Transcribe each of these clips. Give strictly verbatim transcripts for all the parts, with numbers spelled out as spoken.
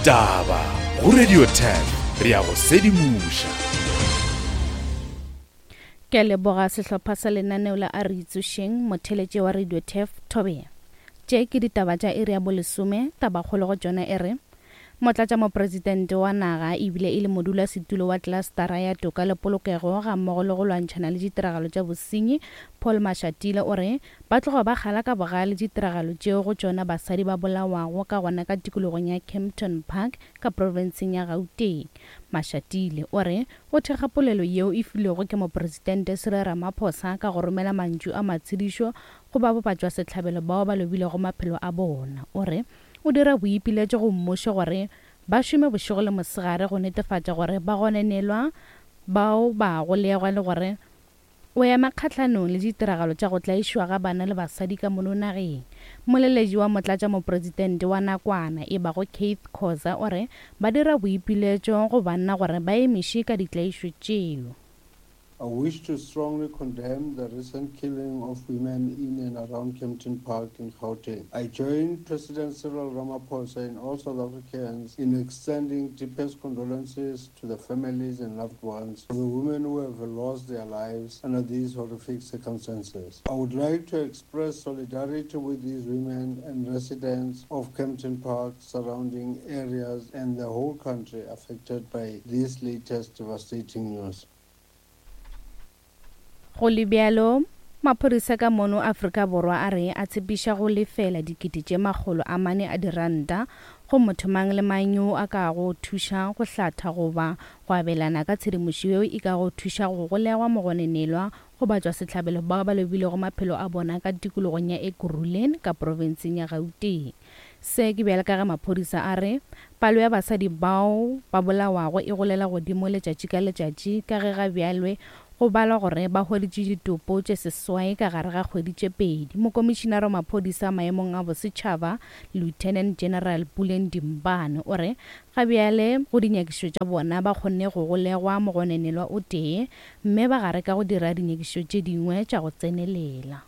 Ditaba go Radio ten re ya go sedimoša. Ke a leboga sehlopha sa lenaneo la A Re Itsošeng, motheletše wa Radio Turf Thobela. Tše ke ditaba tša iri ya bolesome, tabakgolo go tšona e re Motlatšamopresidente wa naga ebile e le modulasetulo wa klastara ya toka le polokego gammogo le go lwantšhana le ditiragalo tša bosenyi Paul Mashatile o re ba tloga ba kgala ka bogale ditiragalo tšeo go tšona basadi ba bolawago ka gona ka tikologong ya Kempton Park ka profenseng ya Gauteng. Mashatile o re o thekga polelo yeo e filwego ke mopresidente Cyril Ramaphosa ka go romela mantšu a matshedišo go ba batšwasehlabelo bao ba lobilego maphelo a bona. O re o dira boipiletšo go mmušo gore ba šome bošego le mosegare go netefatša gore ba gononelwa bao ba golegwa le gore o ema kgahlanong le ditiragalo tša go tlaišwa ga bana le basadi ka mono nageng. Moleletši wa motlatšamopresidente wa nakwana e bago Keith Khoza o re ba dira boipiletšo go banna gore ba emiše ka ditlaišo tšeo. I wish to strongly condemn the recent killing of women in and around Kempton Park in Gauteng. I join President Cyril Ramaphosa and all South Africans in extending deepest condolences to the families and loved ones of the women who have lost their lives under these horrific circumstances. I would like to express solidarity with these women and residents of Kempton Park, surrounding areas and the whole country affected by this latest devastating news. Go le bjalo, maphodisa ka mono Afrika Borwa a re a tshepiša go lefela dikete tše makgolo a mane a diranta go motho mang le mang yo a ka go thuša go hlatha goba go abelana ka tshedimošo yeo e ka go thuša go golegwa mogononelwa go batšwasehlabelo bao ba lobilego maphelo a bona ka tikologong ya Ekurhuleni ka profenseng ya Gauteng. Se ke bjale ka ge maphodisa a re palo ya basadi bao ba bolawago e golela godimo letšatši ka letšatši ka ge ga bjalwe go balwa gore ba hweditše ditopo tše seswai ka gare ga kgwedi tše pedi. Mokomišinara wa maphodisa maemong a bosetšhaba Lieutenant General Puleng Dimpane o re ga bjale go dinyakišišo tša bona ba kgonne go golegwa mogononelwa o tee mme ba gare ka go dira dinyakišišo tše dingwe tša go tsenelela.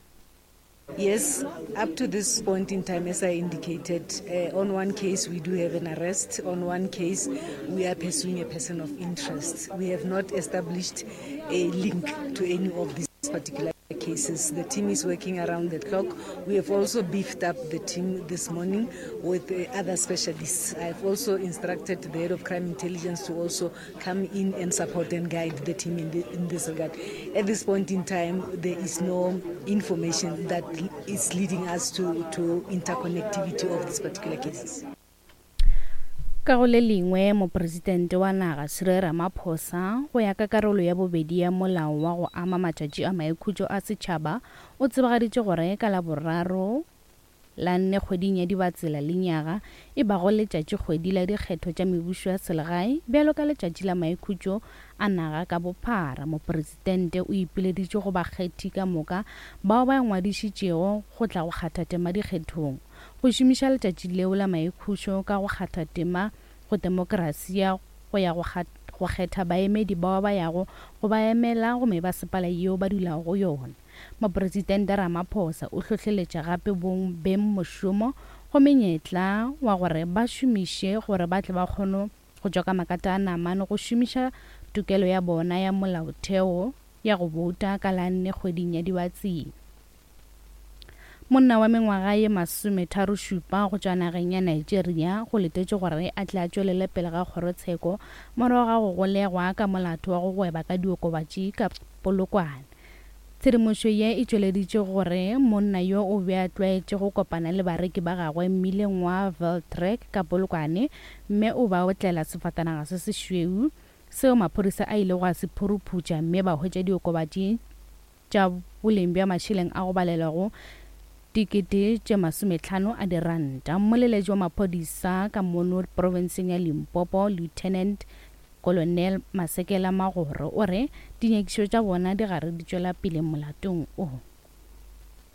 Yes, up to this point in time, as I indicated, uh, on one case we do have an arrest. On one case, we are pursuing a person of interest. We have not established a link to any of these particular cases. The team is working around the clock. We have also beefed up the team this morning with uh, other specialists. I've also instructed the head of crime intelligence to also come in and support and guide the team in, the, in this regard. At this point in time, there is no information that is leading us to, to interconnectivity of these particular cases. Ka go le lengwe, mopresidente wa naga Cyril Ramaphosa go ya ka karolo ya bobedi ya molao wa go ama matšatši a maikhutšo a setšhaba o tsebagaditše gore ka Laboraro la nne kgweding ya Dibatsela lenyaga e bago letšatši kgwedi la dikgetho tša mebušo ya selegae bjalo ka letšatši la maikhutšo a naga ka bophara. Mopresidente o ipileditše go bakgethi ka moka bao ba ngwadišitšego go tla go kgatha tema dikgethong go šomiša letšatši leo la maikhutšo ka go kgatha tema go demokrasi ya go ya go kgetha baemedi bao ba yago go ba emela go mebasepala yeo ba dulago go yona. Mopresidente Ramaphosa o hlohleletša gape beng mošomo go menyetla wa gore ba šomiše gore ba tle ba kgone go tšwa ka makata a namane go šomiša tokelo ya bona ya molaotheo ya go bouta ka la nne kgweding ya Dibatsela. Monna wa mengwaga ye masometharo šupa go tšwa nageng ya Nigeria go letetše gore a tle a tšwelele pele ga kgorotsheko morago ga go golegwa ka molato wa go gweba ka diokobatši ka Polokwane. Tshedimošo ye e tšweleditše gore monna yo o be a tlwaetše go kopana le bareki ba gagwe mmileng wa Veltrek ka Polokwane mme o ba otlela sefatanaga se sešweu seo maphodisa a ilego a se phuruphutša mme ba hwetša diokobatši tša boleng bja mašeleng a go balelwago dikete tše masometlhano a diranta. Mmoleletši wa maphodisa ka mono profenseng ya Limpopo Lieutenant Colonel Masekela Magoro o re dinyakišišo tša bona di gare di tšwela pele molatong o.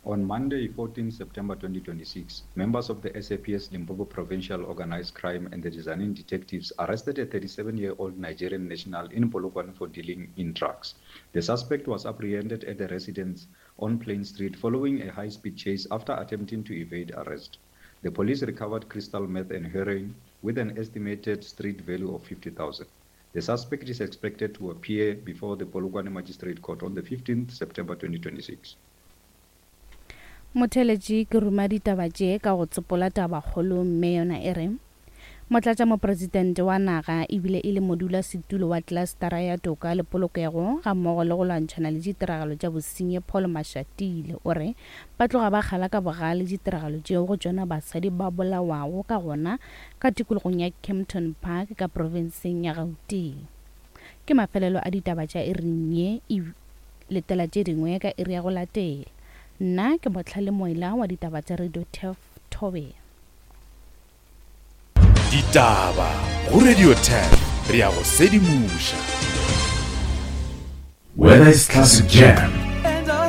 On Monday, fourteenth September twenty twenty-six, members of the S A P S Limpopo Provincial Organized Crime and the Tzaneen detectives arrested a thirty-seven-year-old Nigerian national in Polokwane for dealing in drugs. The suspect was apprehended at the residence on Plain Street following a high-speed chase after attempting to evade arrest. The police recovered crystal meth and heroin, with an estimated street value of fifty thousand. The suspect is expected to appear before the Polokwane Magistrate Court on the fifteenth September twenty twenty-six. Motheletši ke ruma ditaba tše ka go tsopola tabakgolo mme yona e re motlatšamopresidente wa naga ebile e le modulasetulo wa klastara ya toka le polokego ga mmogo le go lwantšhana le ditiragalo tša bosenyi Paul Mashatile o re ba tloga ba kgala ka bogale ditiragalo tšeo go tšona basadi ba bolawago ka gona ka tikologong ya Kempton Park ka profenseng ya Gauteng. Ke mafelelo a ditaba tša iring ye, e letela tše dingwe ka iri ya go latela. Nna ke Motlhale Moila wa ditaba tša Radio Turf Thobela. Ditaba go Radio Turf, re ya go sedimoša. Whether it's classic jam